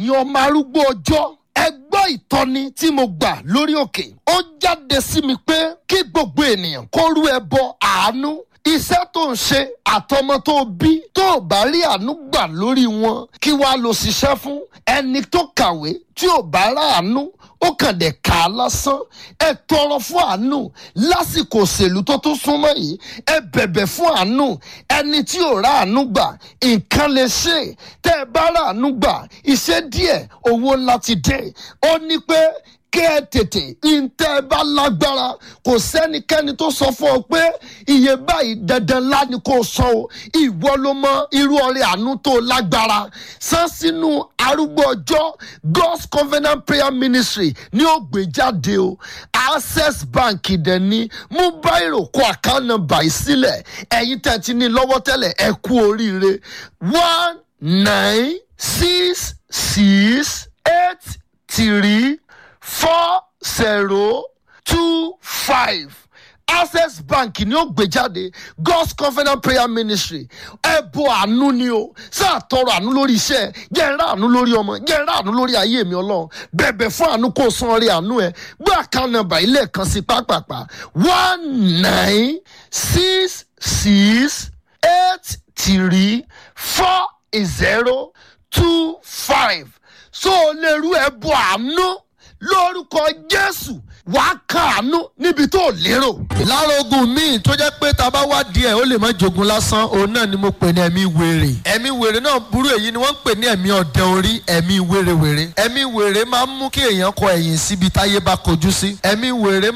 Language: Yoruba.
Ẹ̀yin ọmọ arúgbó ọjọ́, ẹ gbọ́ ìtọ́ni tí mo gbà lórí òkè. Ó jáde sí mi pé kí gbogbo ènìyàn kó rú ẹbọ àánú. Iṣẹ́ tó ń ṣe àtọmọ tó bí, tó bá rí àánú gbà lórí wọn, kí wàá lọ ṣiṣẹ́ fún? Ẹni tó kàwé tí ò bá ráàánú, ó kàn dé kà á lásán. Ẹ tọrọ fún àánú lásìkò òṣèlú tó tún súnmọ́ yìí. Ẹ bẹ̀bẹ̀ fún àánú. Ẹni tí ò ráàánú gbà, nǹkan lè ṣe. Tẹ́ ẹ bá ráàánú gbà, iṣẹ́ díẹ̀, owó ńlá ti dé. Ó ní pé kẹ́ ẹ tètè ntẹ́ ẹ bá lágbára. Kò sẹ́nikẹ́ni tó sọ fún ọ pé iye báyìí dandan ńlá ni kò sọ o. Ìwọ ló mọ irú ọrẹ àánú tó lágbára san sínú Arúgbó Ọjọ́ God's Covenant Prayer Ministry ní ó gbé jáde o. Access Bank dẹ̀ ní. Mú báyìí, kó account number yìí sílẹ̀. Ẹ̀yin tẹ̀ ti ní lọ́wọ́ tẹ́lẹ̀, ẹ kú oríire. 1966834025. Access Bank ni ó gbé jáde, God's Covenant Prayer Ministry. Ẹbọ àánú ni o. Sáà tọrọ àánú lórí iṣẹ́, jẹ́ ń rà àánú lórí ọmọ, jẹ́ ń rà àánú lórí ayé mi. Ọlọ́run, bẹ̀bẹ̀ fún àánú, kó san orí àánú ẹ. Gbé account number ilé kan sí pápápá: 1966834025. So o lè rú ẹbọ àánú lórúkọ Jésù, wàá kàánú níbi tó lérò. Lára ogun míì tó jẹ́ pé tá a bá wá díẹ̀, ó lè má jogun lásán, òun náà ni mo pè ní ẹ̀mí wèrè. Ẹ̀mí wèrè náà burú. Èyí ni wọ́n ń pè ní ẹ̀mí ọ̀dẹ orí, ẹ̀mí wèrèwèrè. Ẹ̀mí wèrè máa ń mú kí èèyàn kọ ẹ̀yìn síbi táyé bá kojú sí. Ẹ̀mí wèrè.